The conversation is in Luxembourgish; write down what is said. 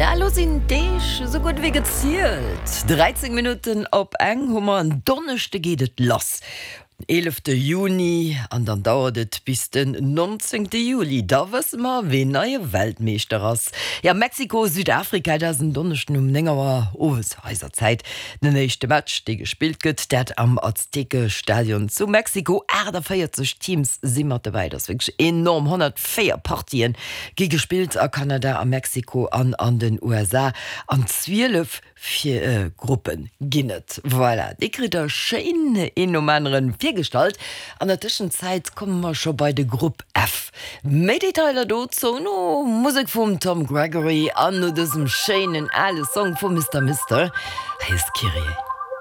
Ja, elo sinn d'Deeg esou gutt ewéi gezielt. 13 Minutten op eng hu mer. En Donneschde geet et lass, den eelefte Juni, an dann dauert et bis den nonzéngte Juli. Da wësse mer, ween neie Weltmeeschter ass. Ja, Mexiko, Südafrika, dat ass en Donneschden um 9 Auer owes eiser Zäit den éischte Match, dee gespillt gëtt. Dat am Aztekestadion zu Mexiko. 48 Teams si mat dobäi, dat ass wierklech enorm. 104 Partien gi gespillt a Kanada, a Mexiko an an den USA an 12 Gruppe ginn et. Voilà, déi kritt der schéin een nom aneren virgestallt. An der Tëschenzäit komme mer scho bei de Grupp F. Méi Detailer dozou no Musek vum Tom Gregory an no dësem schéinen ale Song vu Mister Mister. Hei ass d'Kyrie.